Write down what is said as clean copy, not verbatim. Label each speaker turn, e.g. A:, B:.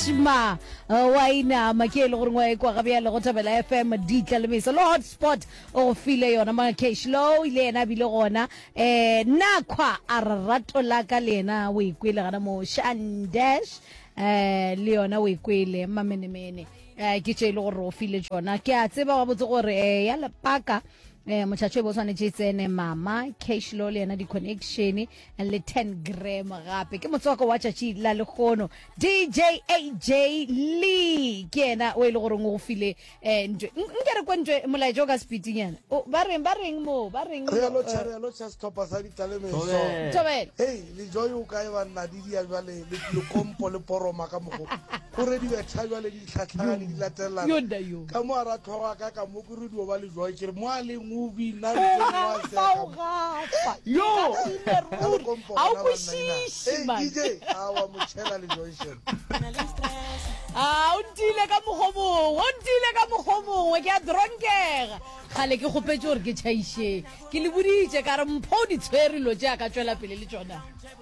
A: Karishma wa inama ke e le goreng wa ekwa ga bjale go Thobela FM ditla le meso le hotspot o go file yona ma Cash Low ile yena a bile gona eh Nakhwa a re rato la ka le yena o e kwele gana mo Shandash eh le yona o e kwele mamenemene eh ke tše e le gore o file tšona ke a tseba gabotse gore eh ya lepaka eh motšhatšo e bo swanetše e tsene mama cash law le yena di-connection le 10 gram gape ke motswako wa tšatši la lekgono dj aj lee ke yena o e le goreng o go file um ntwe nke re kwe ntwe molaetša o ka sepitinyana ba reng ba reng moo ba reng
B: re a lotšha re a lotšha setlhopha sa ditlalemeso
A: Thobela.
B: Hei lejoy o kae banna di dia jwale le lekompo le poroma ka mogo go re di betha jwale di tlhatlhagane di latelelana
A: Yo nna yo.
B: ka mo a ra tlhogo ka ka mo ke re dio ba lejoy ke re mo a leng o bina
A: O gafa o gafa.
C: Yo.
A: Ke ratile ruri.
B: Lekompo
A: Ga o
B: gona banna ina.
A: kwešiše
B: Hei
A: man.
B: DJ awa motšhela lejoy shem
A: A o ntile ka mokgwa mongwe, o ntile ka mokgwa mongwe, ke a dronkega. Kgale ke kgopetše gore ke tšhaišeng. Ke le boditše ka re Mpho o di tshwere lo tše a ka tšwela pele le tšona.